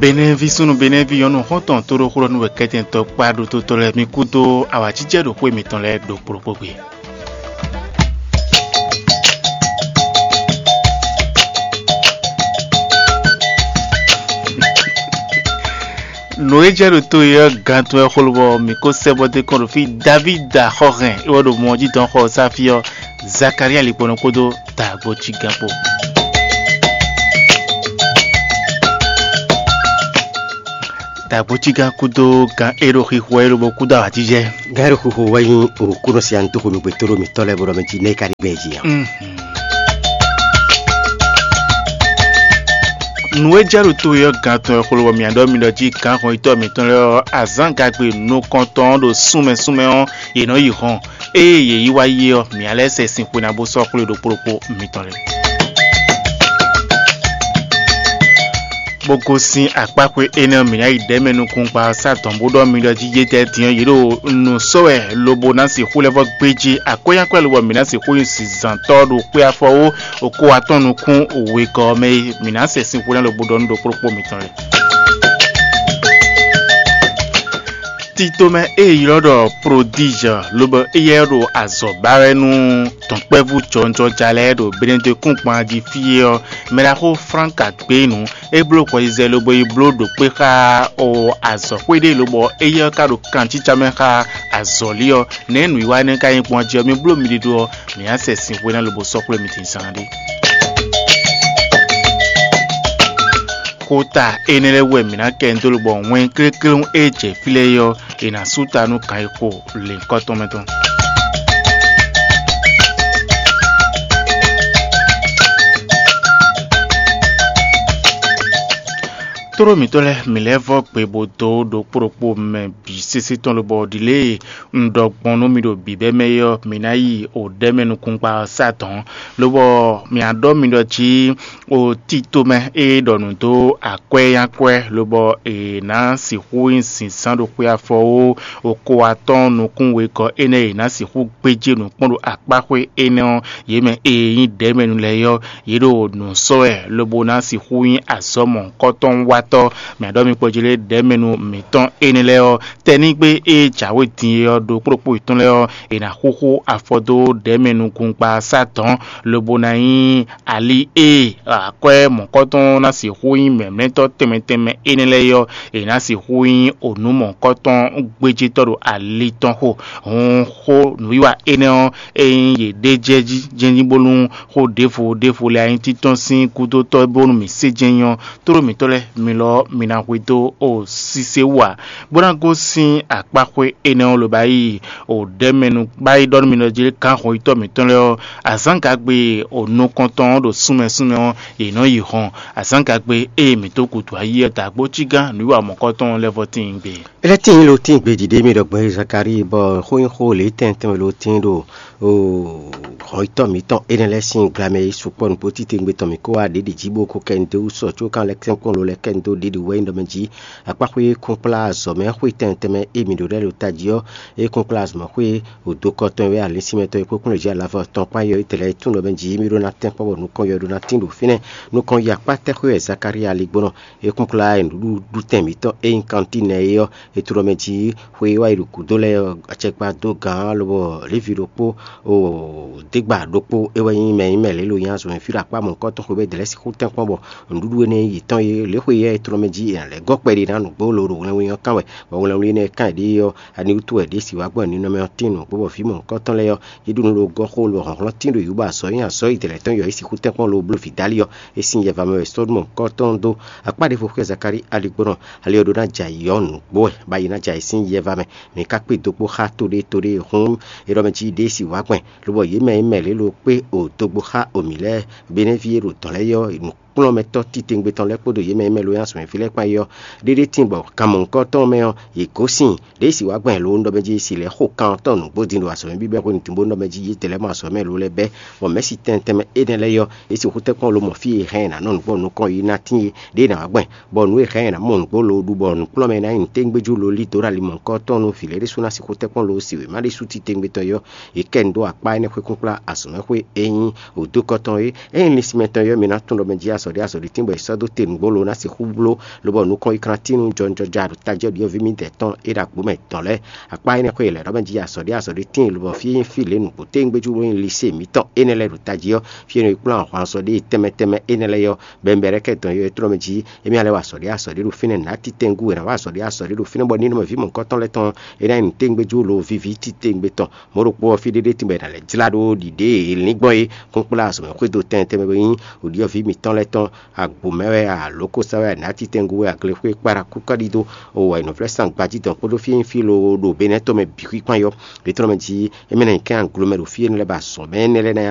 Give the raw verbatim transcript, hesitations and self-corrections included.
Benɛ́ví súnnu Benɛ́ví nyɔ̌nu xɔ́ntɔn tóɖóxó ɔ́ nú wɛ kɛ́tɛ́ntɔ́ kpá ɖótó tɔn lɛ́ɛ mi kúdó awǎjijɛ ɖo xwé mitɔn lɛ́ɛ ɖo kplɔ́kpɔ́ gbe. Nǔ e jɛ ɖo to e ɔ́ gantɔ́ wɛ xlú bɔ mǐ ko sɛ bɔ dé kɔn ɖo fí. Davída xɔ hɛn é wɛ ɖo mɔ jí dɔn xɔ ɔ́ sá fí ɔ́, Zakalía likpɔnɔ kpódó dǎgbó cí gán kpó. Dǎgbó cí gán kúdó gán é ɖo xixo wɛ é lobo kúdó awǎjijɛ. Gán é ɖo xixo wɛ nyí òkúnɔ si anú tó xomɛ gbɛtɔ́ ɖo mǐtɔn lɛ́ɛ bó ɖɔ mɛ jí nɛ́ é ka ɖi gbɛn jí ǎ. Nǔ e jɛ ɖo to e ɔ́ gantɔ́ wɛ xlú bɔ mǐ ɖɔ mi ɖɔ jí gǎnhɔnyitɔ́ mǐtɔn lɛ́ɛ ɔ́, azǎngagbe nukɔntɔn ɔ́ ɖo súnmɛ súnmɛ ɔ́, yě nɔ yi hɔn. Ée yě yi wá yi ɔ́, mǐ lɛ́ sɛ sin xwe ná bó sɔ́ xwlé ɖokpó ɖokpó mitɔn lɛ́ɛ. Bó gosín akpáxwé énɛ́ ɔ́, mǐ ná yi ɖɛ̌ mɛ nukúngbá ɔ́ sá dɔ̌n bó ɖɔ mi ɖɔ jí yétɛ́ din ɔ́, yě ɖo nǔ sɔ́ wɛ lobo ná sixú lɛ́ vɔ́ gbéjí akwɛ́yákwɛ́ lobɔ mǐ ná sixú nyí zǎntɔ́ ɖo xwé afɔwó okó atɔ́ɔ́n nukún wegɔ́ ɔ́ mɛ é. Mǐ ná sɛ sin xwe ná lobo ɖɔ nú ɖokpó ɖokpó mitɔn lɛ́ɛ. Tito mɛ e è ylɔ́ ɖɔ Prodízɔ lobo éyɛ́ ɖo azɔ̌ ba wɛ nú dɔ̌nkpɛ́vú jɔwunjɔja lɛ́ɛ ɖo Benedekúngban jí fí é ɔ́, mɛ ɖaxó Flánka gbé nǔ. É bló hwɛyizɛ lobo yi bló ɖo kpé xá o azɔ̌xwé ɖé lobɔ éyɛ́ ɔ́ ka ɖo kancícá mɛ xá azɔ̌lí ɔ́. Nɛ̌ nǔwiwa énɛ́ ka nyí gbɔn jí ɔ́, mi bló mi ɖiɖo ɔ́, mǐ ná sɛ sin xwe ná lobo sɔ́ xwlé mi din zán ɖé. Xota énɛ́ lɛ́ɛ wú wɛ mǐ ná kɛ nyi dó lobɔ wɛn klékléwún e jɛ fí lɛ́ɛ é ɔ́, è nǎ sú ta nú kan e xo lěhunkɔtɔn mɛ tɔn. Tlóló mǐtɔn lɛ́ɛ, mǐ lɛ́ vɔ́ gbe bó dó ɖokpó ɖokpó mɛ bǐ sésé tɔn lobɔ ɖi lě e un ɖɔ gbɔn nú mi ɖo bǐbɛ́ mɛ é ɔ́, mi ná yi o ɖɛ̌ mɛ nukúngbá ɔ́ sá dɔ̌n, lobɔ mǐ á ɖɔ mi ɖɔ jí o tito mɛ e ɖɔ nǔ dó akwɛ́ nyi akwɛ́, lobɔ è nǎ sixú nyi zǐnzán ɖo xwé afɔ ó, o ko atɔ́ɔ́n nukún wegɔ́ énɛ́ e è nǎ sixú gbéjé nǔ kpɔ́n ɖo akpáxwé énɛ́ ɔ́, yě mɛ e nyí ɖɛ̌mɛnu lɛ́ɛ é ɔ́, yě ɖo nǔ sɔ́ wɛ lobo ná sixú nyí azɔ̌ mɔ̌hunkɔtɔnwatɔ́. Mǐ ɖɔ mi kpɔjlé ɖɛ̌mɛnu mǐtɔn énɛ́ lɛ́ɛ ɔ́, tɛnígbe e jǎwe din é ɔ́ ɖo kplɔ́kpó yětɔn lɛ́ɛ ɔ́, è nǎ xúxú afɔ dó ɖɛ̌mɛnukúngba sá dɔ̌n, lobo ná nyí ali e akwɛ́ mɔ̌hunkɔtɔn ná sixú nyí mɛ̌mlɛ́tɔ́ tɛnmɛ tɛnmɛ énɛ́ lɛ́ɛ é ɔ́, è nǎ sixú nyí onǔ mɔ̌hunkɔtɔn gbéjétɔ́ ɖo ali tɔn xo. Hǔn xó nǔwiwa énɛ́ ɔ́, ényí yě ɖe jɛ jí jɛ́njí bónú xó ɖěvo ɖěvo lɛ́ɛ nyí títɔ́n sín gúdo tɔ́ bónú mǐ sé jɛ́n nyí ɔ́, tlóló mǐtɔn lɛ́ɛ mi lɔ ɔ́, mi ná hwedó o sísé wú ǎ, bó ná gosín akpáxwé énɛ́ ɔ́ lobo yi o ɖɛ̌mɛnu bá yi ɖɔ nú mi ɖɔ jí gǎnhɔnyitɔ́ mǐtɔn lɛ́ɛ ɔ́, azǎngagbe o nukɔntɔn ɔ́ ɖo súnmɛ súnmɛ ɔ́, yě nɔ yi hɔn. Azǎngagbe ée mǐ dó gǔdo ayí ɔ́ dǎgbó cí gán nǔwiwa mɔ̌kɔtɔn lɛ́ɛ vɔ tíin gbe. É lɛ́ tíin lo tíin gbejí ɖé mì ɖɔ gbɔn Zakalíi, bɔ xó nyí xó lě tɛntɛn lo tíin ɖo hɔnyitɔ́ mǐtɔn énɛ́ lɛ́ɛ sín glamɛ yi sukpɔ́ nǔgbó títewungbe tɔn mǐ kó wá ɖěɖi jí bó ko kɛ nu dó wú sɔ có kan lɛ́ kɛ́nkpɔ́n lo lɛ́ kɛ nu dó ɖěɖi wɛ nyí ɖɔ mɛ jí akpáxwé kúnkplá azɔ̌ mɛ xwé tɛntɛn mɛ e mǐ ɖo lɛ́ɛ ɖo tají ɔ́, é kúnkplá azɔ̌ mɛ xwé wǒdokɔ tɔn e wɛ alǐnsinmɛ tɔn e kpó kplɔ́n jí alavɔ tɔn kpán yɔ é tɛlɛ é tún ɖɔ mɛ jí mí ɖó ná tɛ́nkpɔ́n bɔ nukɔn yɔ ɖó ná tín ɖo fínɛ́. Nukɔn yi akpá tɛ́ xwé wɛ Zakalíi ali gbɔn ɔ́, é kúnkplá nǔɖuɖu tɛn mǐtɔn e nyí kantín nɛ́ é ɔ́, é tló mɛ jí xwe e wá yi ɖo gǔdo lɛ́ɛ ɔ́, acɛkpa dó gǎn lobɔ Levi ɖokpó, o, dégba ɖokpó é wɛ nyí mɛ nyí mɛ lě lo nyí azɔ̌ mɛ fí ɖo akpá mɔ̌hunkɔtɔn xwebɛ́ dɛ̌ lɛ́ɛ sixú tɛ́nkpɔ́n bɔ nǔɖuɖu énɛ́ yětɔn e lě xwe yɛ é tló mɛ jí è nǎ lɛ́ gɔ́ kpɛɖé ná nǔgbó lo ɖo wlɛnwlɛn ɔ́ kán wɛ, bɔ wlɛnwlɛn énɛ́ e kán è ɖe é ɔ́, ani wútu wɛ ɖě si wá gbɔn ninɔmɛ ɔ́ tín nǔgbó bɔ vǐ mɔ̌hunkɔtɔn lɛ́ɛ ɔ́, yě ɖo nǔ ɖo gɔ́ xó lo hlɔ̌nhlɔ́n tín ɖo yǔ bɔ azɔ̌ nyí azɔ̌ yi dɛ̌ lɛ́ɛ tɔn yɔ é sixú tɛ́nkpɔ́n lo bló vǐ Dali ɔ́, é sín yɛva mɛ wɛ Sodɔ́mu mɔ̌hunkɔtɔn dó. Akpá ɖěvo xwé Zakalíi ali gbɔn ɔ́, ali ɔ́ ɖó ná jɛ ayǐ ɔ́ nǔgbó wɛ, bɔ ayi ná jɛ ayǐ sín yɛva mɛ. Mǐ ka kpé dó kpó xá to ɖé to ɖé hǔn, é ɖɔ mɛ jí ɖěe si wǎ gbɛn, lobɔ yě mɛ e mɛ lě lo kpé o dó gbó xá o mǐ lɛ́ɛ, Benɛ́ví e ɖo dɔ̌n lɛ́ɛ yɔ nǔkplɔ́nmɛtɔ́ titewungbe tɔn lɛ́ɛ kpódó yě mɛ e mɛ lo nyí azɔ̌mɛví lɛ́ɛ kpán é ɔ́, ɖéɖé tíin bɔ kan mɔ̌hunkɔtɔn mɛ ɔ́, yě gosín ɖěe si wǎ gbɛn lo nú ɖɔ mɛ jí si lɛ́ xo kan ɔ́ tɔn nǔgbó din ɖo azɔ̌mɛví bɛ́ xwenu din bó nú ɖɔ mɛ jí yě dlɛ́ mɔ azɔ̌mɛ lo lɛ́ɛ bɛ́, bɔ mɛ̌si tɛnmɛ tɛnmɛ énɛ́ lɛ́ɛ yɔ, é sixú tɛ́nkpɔ́n lo mɔ fí e hɛn ná nɔ nǔgbó nukɔn yi ná tíin é, ɖěe ná wǎ gbɛn. Bɔ nǔ e hɛn ɛ ná mɔ nǔgbó lo ɖu bɔ nǔkplɔ́nmɛ ná nyi nǔtɛ́ngbéjú lo lí dǒ ɖo ali mɔ̌hunkɔtɔn nú vǐ lɛ́ɛ ɖésú ná sixú tɛ́nkpɔ́n lo si wěma ɖésú titewungbe tɔn yɔ. È kɛ nu dó akpá énɛ́ xwé kúnkplá azɔ̌mɛxwé e nyí wǒdokɔ tɔn é. Ényí linsinmɛ tɔn yɔ mì ná tunwun ɖɔ mɛ jí azɔ̌ azɔ̌ɖí azɔ̌ɖí tín bɔ è sɔ́ dó te nǔgbó lo ná sixú bló, lobɔ nukɔn yi kantínu jɔnjɔja ɖo tají ɔ́ ɖyɔ́ví mì dɛ̌ tɔn é ɖo agbǒ mɛ dɔn lɛ́ɛ. Akpá énɛ́ xwé lɛ̌ ɖɔ mɛ jí azɔ̌ɖí azɔ̌ɖí tíin lobɔ fí nyí fí lě nǔgbó téngbéjú bó nyí lisée mǐtɔn énɛ́ lɛ́ɛ ɖo tají ɔ́, fí e nɔ yi kplɔ́n ahwan azɔ̌ɖí tɛnmɛ tɛnmɛ énɛ́ lɛ́ɛ ɔ́, bɛ̌nbɛ́ ɖɛ́ kɛ dɔn yɔ é tlɔ́ mɛ jí émí ná lɛ́ wa azɔ̌ɖí azɔ̌ɖí ɖo fínɛ́ nǎ titɛngú è nǎ wa azɔ̌ɖí azɔ̌ɖí ɖo fínɛ́ bɔ nínɔmɛ ví mɔ̌hunkɔtɔn lɛ́ɛ tɔn é ná nyi nǔténgbéjú lo víví titewungbe tɔn. Mɔ̌ ɖokpó ɔ́, fí ɖé ɖé tínbɔ è nǎ lɛ́ jlá ɖó ɖiɖě e lín gbɔn é kúnkplá azɔ̌mɛ xwédo tɛn tɛnmɛ bó nyí wǔɖiɖɔ́ví mǐtɔn lɛ́ɛ tɔn, agbǒ mɛ wɛ a, lǒkosá wɛ a, nǎtitɛngu wɛ a, glexwé kpáɖá kúkɔ́ ɖidó, o wɛ è nɔ vlɛ́ sán gbajítɔn kpódó fí e nyí fí loo ɖo Benɛ́ tɔn mɛ bǐ xwíkpán yɔ. Ɖětɔ́ mɛ jí é mɛ ná nyí kɛ́n aglomɛ ɖo fí énɛ́ lɛ́ɛ ba azɔ̌mɛ énɛ́ lɛ́ɛ ná